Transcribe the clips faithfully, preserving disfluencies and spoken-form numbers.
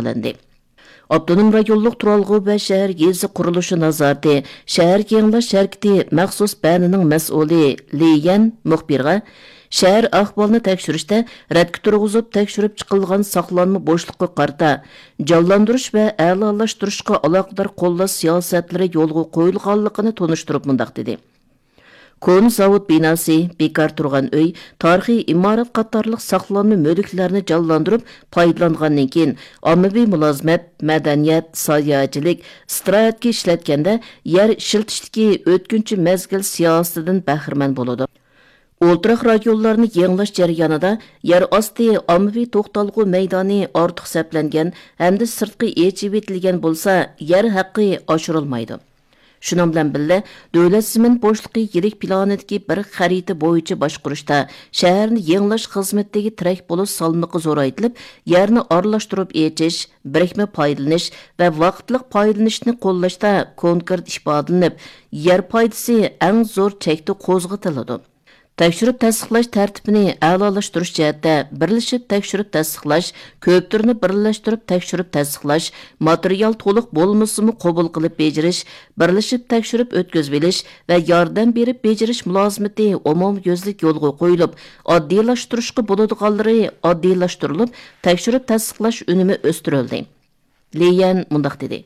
تەكىتلەندى. ئاپتونوم رايونلۇق تۇرالغۇ ۋە شەھەر يېزا قۇرۇلۇشى نازارىتى شەھەر يېڭىلاش ھەرىكىتى مەخسۇس بەنىنىڭ مەسئۇلى لى يەن مۇخبىرغا، شەھەر ئەھۋالىنى تەكشۈرۈشتە رەتكە تۇرغۇزۇپ تەكشۈرۈپ چىقىلغان ساقلانما بوشلۇققا قارىتا جانلاندۇرۇش ۋە ئەلالاشتۇرۇشقا ئالاقىدار قوللاش سىياسەتلىرى يولغا قويۇلغانلىقىنى تونۇشتۇرۇپ مۇنداق دېدى: كونا زاۋۇت بىناسى، بىكار تۇرغان ئۆي، تارىخىي ئىمارەت قاتارلىق ساقلانما مۈلۈكلەرنى جانلاندۇرۇپ پايدىلانغاندىن كېيىن، ئاممىۋى مۇلازىمەت، مەدەنىيەت، ساياھەتچىلىك، ئىستىراھەتكە ئىشلەتكەندە يەر ئىشلىتىشتىكى ئۆتكۈنچى مەزگىل سىياسىتىدىن بەھرىمەن بولىدۇ. ئولتۇراق رايونلارنى يېڭىلاش جەريانىدا يەر ئاستى ئاممىۋى توختالغۇ مەيدانى ئارتۇق سەپلەنگەن ھەمدە سىرتقا ئېچىۋېتىلگەن بولسا، يەر ھەققى ئاشۇرۇلمايدۇ. شۇنىڭ بىلەن بىللە، دۆلەت زېمىن بوشلۇقى يىرىك پىلانىدىكى بىر خەرىتە بويىچە باشقۇرۇشتا شەھەرنى يېڭىلاش خىزمىتىدىكى تىرەك بولۇش سالمىقى زورايتىلىپ، يەرنى ئارىلاشتۇرۇپ ئېچىش، بىرىكمە پايدىلىنىش ۋە ۋاقىتلىق پايدىلىنىشنى قوللاشتا كونكرېت ئىپادىلىنىپ، يەر پايدىسى ئەڭ زور چەكتە قوزغىتىلىدۇ. تەكشۈرۈپ تەستىقلاش تەرتىپىنى ئەلالاشتۇرۇش جەھەتتە بىرلىشىپ تەكشۈرۈپ تەستىقلاش، كۆپ تۈرنى بىرلەشتۈرۈپ تەكشۈرۈپ تەستىقلاش، ماتېرىيال تولۇق بولمىسىمۇ قوبۇل قىلىپ بېجىرىش، بىرلىشىپ تەكشۈرۈپ ئۆتكۈزۈۋېلىش ۋە ياردەم بېرىپ بېجىرىش مۇلازىمىتى ئومۇميۈزلۈك يولغا قويۇلۇپ، ئاددىيلاشتۇرۇشقا بولىدىغانلىرى ئاددىيلاشتۇرۇلۇپ، تەكشۈرۈپ تەستىقلاش ئۈنۈمى ئۆستۈرۈلدى. لى يەن مۇنداق دېدى: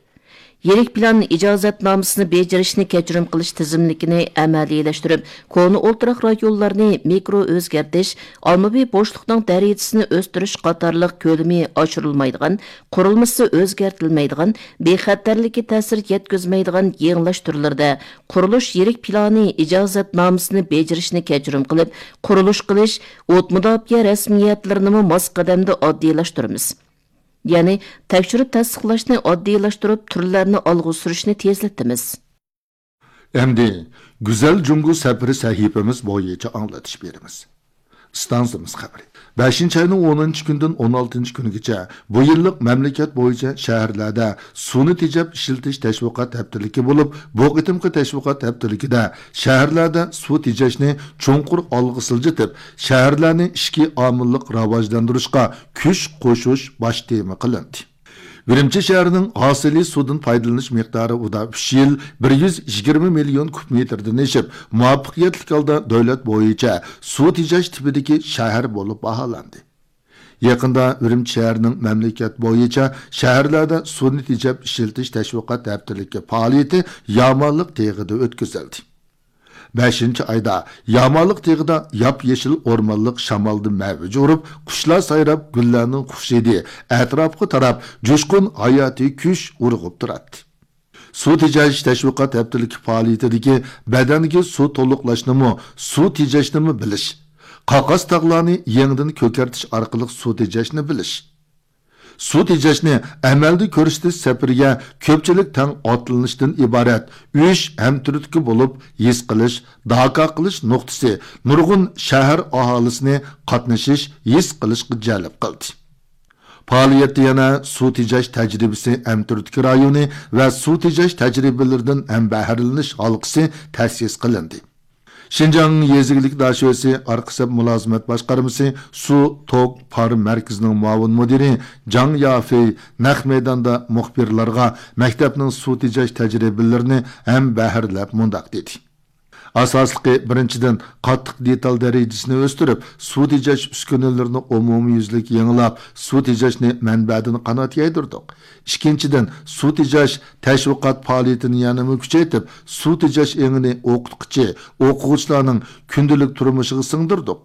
يىرىك پىلان ئىجازەتنامىسىنى بېجىرىشنى كەچۈرۈم قىلىش تىزىملىكىنى ئەمەلىيلەشتۈرۈپ، كونا ئولتۇراق رايونلارنى مىكرو ئۆزگەرتىش، ئاممىۋى بوشلۇقنىڭ دەرىجىسىنى ئۆستۈرۈش قاتارلىق كۆلىمى ئاشۇرۇلمايدىغان، قۇرۇلمىسى ئۆزگەرتىلمەيدىغان، بىخەتەرلىككە تەسىر يەتكۈزمەيدىغان يېڭىلاش تۈرلىرىدە قۇرۇلۇش يىرىك پىلانى ئىجازەتنامىسىنى بېجىرىشنى كەچۈرۈم قىلىپ، قۇرۇلۇش قىلىش، ئوت مۇداپىئە رەسمىيەتلىرىنىمۇ ماس قەدەمدە ئاددىيلاشتۇرىمىز. يەنى تەكشۈرۈپ تەستىقلاشنى ئاددىيلاشتۇرۇپ، تۈرلەرنى ئالغا سۈرۈشنى تېزلىتىمىز. ئەمدى گۈزەل جۇڭگو سەپىرى سەھىپىمىز بويىچە ئاڭلىتىش بېرىمىز. ئىستانسىمىز خەۋىرى. بەشىنچى ئاينىڭ ئونىنچى كۈنىدىن ئون ئالتىنچى كۈنىگىچە بۇ يىللىق مەملىكەت بويىچە شەھەرلەردە سۇنى تېجەپ ئىشلىتىش تەشۋىقات ھەپتىلىكى بولۇپ، بۇ قېتىمقى تەشۋىقات ھەپتىلىكىدە شەھەرلەردە سۇ تېجەشنى چوڭقۇر ئالغا سىلجىتىپ، شەھەرلەرنى ئىچكى ئامىللىق راۋاجلاندۇرۇشقا كۈچ قوشۇش باش تېما قىلىندى. ئۈرۈمچى شەھىرىنىڭ ھاسىلى سۇدىن پايدىلىنىش مىقدارى ئۇدا ئۈچ يىل بىر يۈز يىگىرمە مىليون كۇب مېتىردىن ئېشىپ، مۇۋەپپەقىيەتلىك ھالدا دۆلەت بويىچە سۇ تېجەش تىپىدىكى شەھەر بولۇپ باھالاندى. يېقىندا ئۈرۈمچى شەھىرىنىڭ مەملىكەت بويىچە شەھەرلەردە سۇنى تېجەپ ئىشلىتىش تەشۋىقات ھەپتىلىكى پائالىيىتى يامانلىق تېغىدا ئۆتكۈزۈلدى. بەشىنچى ئايدا يامانلىق تېغىدا ياپيېشىل ئورمانلىق شامالدا مەۋج ئۇرۇپ، قۇشلار سايراپ، گۈللەرنىڭ خۇشىدى ئەتراپقا تاراپ، جۇشقۇن ھاياتىي كۈچ ئۇرغۇپ تۇراتتى. سۇ تېجەش تەشۋىقات ھەپتىلىكى پائالىيىتىدىكى بەدەنگە سۇ تولۇقلاشنىمۇ، سۇ تېجەشنىمۇ بىلىش، قاقاس تاغلارنى يېڭىدىن كۆكەرتىش ئارقىلىق سۇ تېجەشنى بىلىش، سۇ تېجەشنى ئەمەلدە كۆرسىتىش سەپىرىگە كۆپچىلىك تەڭ ئاتلىنىشتىن ئىبارەت ئۈچ ھەمتۈرتكە بولۇپ ھېس قىلىش، داكا قىلىش نۇقتىسى نۇرغۇن شەھەر ئاھالىسىنى قاتنىشىش، ھېس قىلىشقا جەلپ قىلدى. پائالىيەتتە يەنە سۇ تېجەش تەجرىبىسى ھەمتۈرتكە رايونى ۋە سۇ تېجەش تەجرىبىلىرىدىن ھەمبەھىرلىنىش ھالقىسى تەسىس قىلىندى. شىنجاڭ يېزا ئىگىلىك داشۆسى ئارقا سەپ مۇلازىمەت باشقارمىسى سۇ توك پار مەركىزىنىڭ مۇئاۋىن مۇدىرى جاڭ يافېي نەق مەيداندا مۇخبىرلارغا مەكتەپنىڭ سۇ تېجەش تەجرىبىلىرىنى ھەمبەھىرلەپ مۇنداق دېدى: ئاساسلىقى، بىرىنچىدىن، قاتتىق دېتال دەرىجىسىنى ئۆستۈرۈپ، سۇ تېجەش ئۈسكۈنىلىرىنى ئومۇميۈزلۈك يېڭىلاپ، سۇ تېجەشنى مەنبەدىن قانات يايدۇردۇق. ئىككىنچىدىن، سۇ تېجەش تەشۋىقات پائالىيىتىنى يەنىمۇ كۈچەيتىپ، سۇ تېجەش ئېڭىنى ئوقۇتقۇچى، ئوقۇغۇچىلارنىڭ كۈندىلىك تۇرمۇشىغا سىڭدۈردۇق.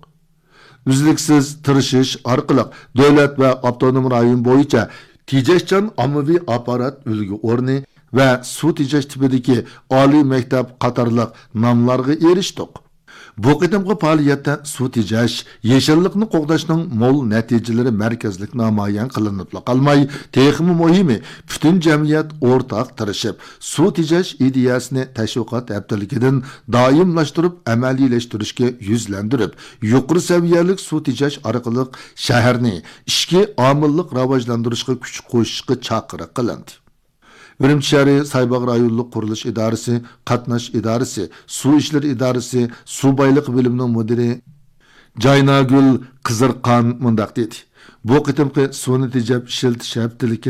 ئۈزلۈكسىز تىرىشىش ئارقىلىق دۆلەت ۋە ئاپتونوم رايون بويىچە تېجەشچان ئاممىۋى ئاپپارات ئۈلگە ئورنى ۋە سۇ تېجەش تىپىدىكى ئالىي مەكتەپ قاتارلىق ناملارغا ئېرىشتۇق. بۇ قېتىمقى پائالىيەتتە سۇ تېجەش، يېشىللىقنى قوغداشنىڭ مول نەتىجىلىرى مەركەزلىك نامايان قىلىنىپلا قالماي، تېخىمۇ مۇھىمى، پۈتۈن جەمئىيەت ئورتاق تىرىشىپ، سۇ تېجەش ئىدىيەسىنى تەشۋىقات ھەپتىلىكىدىن دائىملاشتۇرۇپ ئەمەلىيلەشتۈرۈشكە يۈزلەندۈرۈپ، يۇقىرى سەۋىيەلىك سۇ تېجەش ئارقىلىق شەھەرنى ئىچكى ئامىللىق راۋاجلاندۇرۇشقا كۈچ قوشۇشقا چاقىرىق قىلىندى. ئۈرۈمچى شەھىرى سايباغ رايونلۇق قۇرۇلۇش ئىدارىسى، قاتناش ئىدارىسى، سۇ ئىشلىرى ئىدارىسى، سۇ بايلىقى بۆلۈمىنىڭ مۇدىرى جايناگۈل قىزىرقان مۇنداق دېدى: بۇ قېتىمقى سۇنى تېجەپ ئىشلىتىش ھەپتىلىكى